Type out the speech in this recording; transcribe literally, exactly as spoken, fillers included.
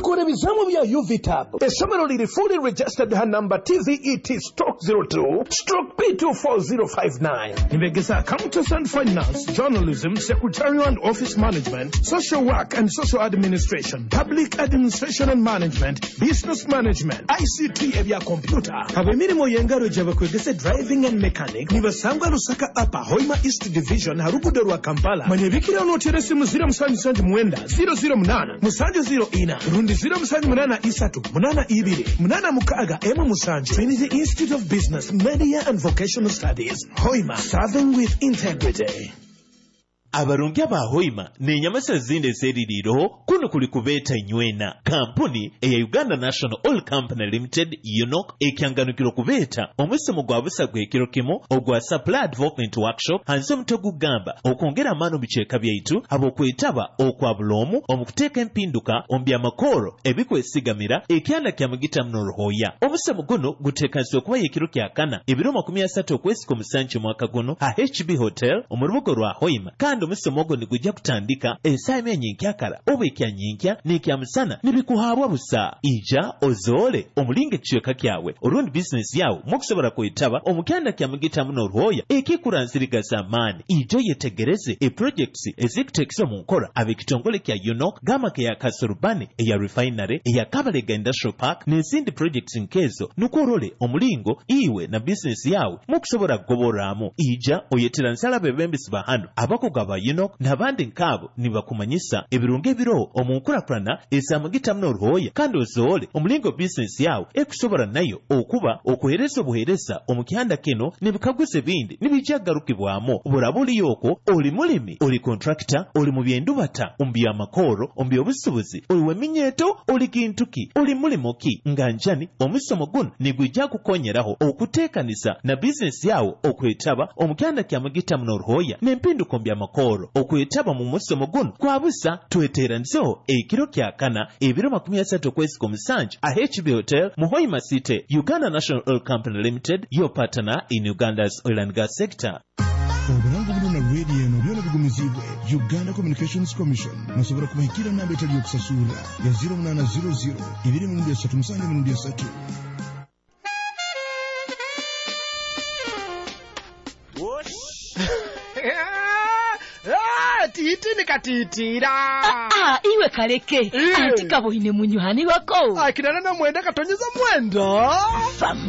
Tukora ebizamu bya U V tab. Essomero liri fully registered ha number T V E T stroke zero two stroke P two four zero five nine. Nibegesa accountants and finance, journalism, secretarial and office management, social work and social administration, public administration and management, business management, I C T ebya computer. Ab'emirimu y'engaro gye bakwegesa driving and mechanic. Nibasangwa Lusaka Upper, Hoima East Division, ha rugudo rwa Kampala. Manyebikira onootera esimu zero musanju musanju mwenda zero zero munaana musanju zero ina rundi zero musanju munaana isatu munaana ibiri munaana mukaaga emu musanju. Trinity Institute of Business, Media and Vocational Studies, Hoima, serving with integrity. Abarungi aba Hoima n'enyamasa zindi ezeririireho, kuno kuli kubeeta inywena. Kampuni eya Uganda National Oil Company Limited, UNOC, ekyanganukiro kubeeta omusomo gwa busa gw'ekiro kimu ogwa Supply Development Workshop hansi omutwe gugamba okwongera amaani omu bicweka byaitu habw'okwetaba okwa buloomu omu kuteeka empinduka omu byamakooro ebikwesigamira ekyanda kya mugita muno ruhooya. Omusomo guno guteekanizibwe kuba ekiro kya kana, ebiro makumi asatu okwezi kw'omusanju omwaka guno ha H B Hotel omu rubuga rwa Hoima, kandi omusomo ogwo nigujja kutandika esaaha emwe nyenkyakara oba ekyanyinkya n'ekyamusana nibikuhaabwa busa. Ija ozoole omulinga ekicweka kyawe orundi bizinesi yawe mukusobola kwetaba omu kyanda kya mugita muno ruhooya ekikuranzirigaza amaani. Ija oyetegereze eprojects ezikuteekesa omu nkora ab'ekitongole kya UNOC, gamaka eya Kasorubani, eya refinery, eya Kabalega Industrial Park n'ezindi projects nkezo, nukwo orole omulingo iwe na bizinesi yawe mukusobola kugoborramu. Ija oyetera nsala abebembezi ba hano, abakugu aba UNOC n'abandi nkaabo nibakumanyisa ebirungi ebiroho omu nkurakurana ezamugita muno oruhooya, kandi ozoole omulingo bizinesi yawe ekusobola nayo okuba okuheereza obuheereza omu kyanda kino. N'ebikaguzo ebindi nibijja kugarukibwamu. Buraba oliyo okwo oli mulimi, oli contractor, oli mu byendubata, omu byamakooro, omu byobusubuzi, oli w'eminyeeto, oli kintu ki, oli mulimo ki nga njani, omusomo guno nigwijja kukonyeraho okuteekaniza na bizinesi yawe okwetaba omu kyanda kya mugita muno oruhooya n'empinduko mu byamakooro. Okwetaba mu musomo guno kwa busa. Tweteranizeho ekiro kya kana, ebiro makumi asatu okwezi kw'omusanju a H B Hotel mu Hoima City. Uganda National Oil Company Limited, your partner in Uganda's oil and gas sector. Obulango buno na rediyo eno byona bigumizibwe Uganda Communications Commission. Musobola kubahikira namba etali yokusasurra ya zero munaana zero zero ibiri mirundi esatu musanju mirundi esatu. Titi nikatitira. Ah, iwe kaleke. Eh. Anti kaboine munywani wako. Akinana na mwenda katonyeza mwenda. Fam.